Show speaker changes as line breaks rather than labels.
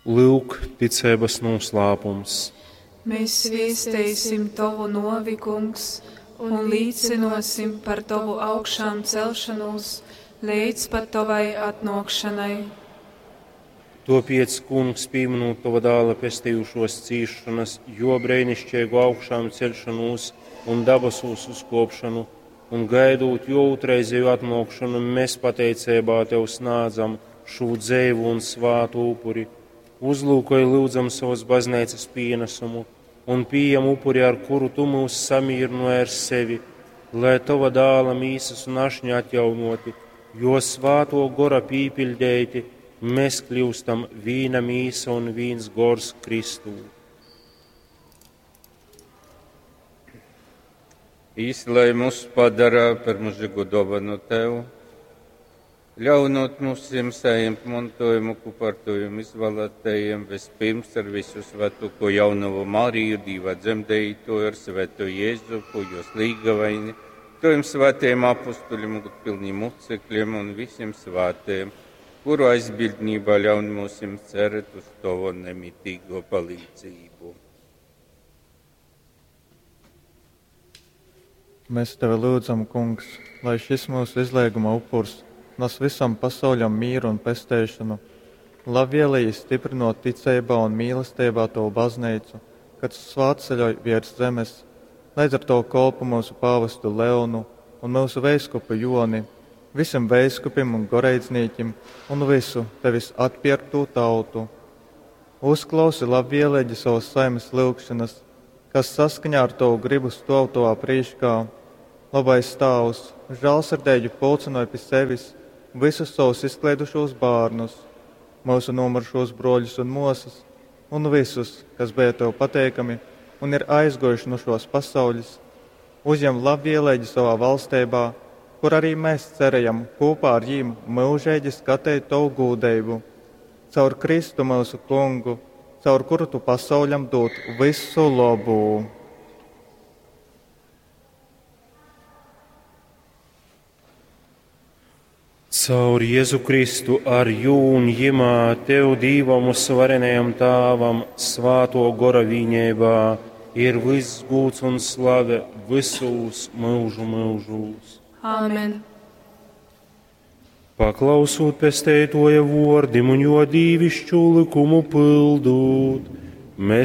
Lyuk, ticeibas nūslāpums.
Mēs viesteisim Tovu novi, Kungs, un līcinosim par Tovu augšām celšanos līdz pat Tavai atnākšanai.
Topiec, Kungs, pieminot Tava dēla pestījušos cīšanas, jo brēnišķīgu augšām celšanos un dabasūs uzkopšanu, un gaidot jo otrreizēju atnākšanu, mēs pateicībā Tev snādzam šo dzēvu un svātu upuri. Uzlūkoj lūdzam savas baznīcas pienesumu un pieejam upuri, ar kuru Tu mūs samierināji ar sevi, lai Tava dāla mīsas un ašņa atjaunoti, jo svāto gora pīpildēti, mēs kļūstam vīna mīsa un vīns gors Kristū.
Īsti, lai mūs padara par mūžīgu dāvanu Tev, ļaunot mums saņemt mantojumu, kopā ar Taviem izvēlētajiem, vispirms ar visu svētoko jaunavu Mariju, Dīva dzemdējuto, ar svēto Jēzupu, jos līgavaini, Taviem svētajiem apustuļiem, gudpilniem mocekļiem un visiem svētajiem, kuru aizbildnībā ļaun mums cerēt uz Tavu nemitīgo palīdzību.
Mēs tevi lūdzam, Kungs, lai šis mūsu izlieguma upurs nes visam pasauļam mīru un pesteišanu, labvēlīgi stiprinot ticeibā un mīlestībā Tavu baznīcu, kad svātceļoj virs zemes, līdz ar to kolpu mūsu pāvestu Leonu un mūsu veiskupu Joni, visiem veiskupim un goreidznīkim un visu tevis atpierktū tautu. Uzklausi labvēlīgi savas saimes lūgšanas, kas saskaņā ar Tavu gribu stov Tavā prīškā. Labais Tēvs, žēlsirdīgi pulcinoja pie sevis visus savus izklaidušos bērnus, mūsu nomurušos broļus un mosas, un visus, kas bija Tev pateikami un ir aizgojuši no šos pasaules, uzņem labvēlīgi savā valstībā, kur arī mēs cerējam kopā ar jīm mūžīgi skatīt Tavu gūdību. Caur Kristu mūsu kungu, caur kuru Tu pasauļam dod visu labu.
Caur Jēzu Kristu ar jū un jimā Tev Dīvam uzvarenajam Tāvam svāto gora vīņībā ir viss gūts un slave visūs mūžu mūžūs.
Āmen.
Paklausūt pesteitoja vordim un jo dīvišķu likumu pildūt, mēs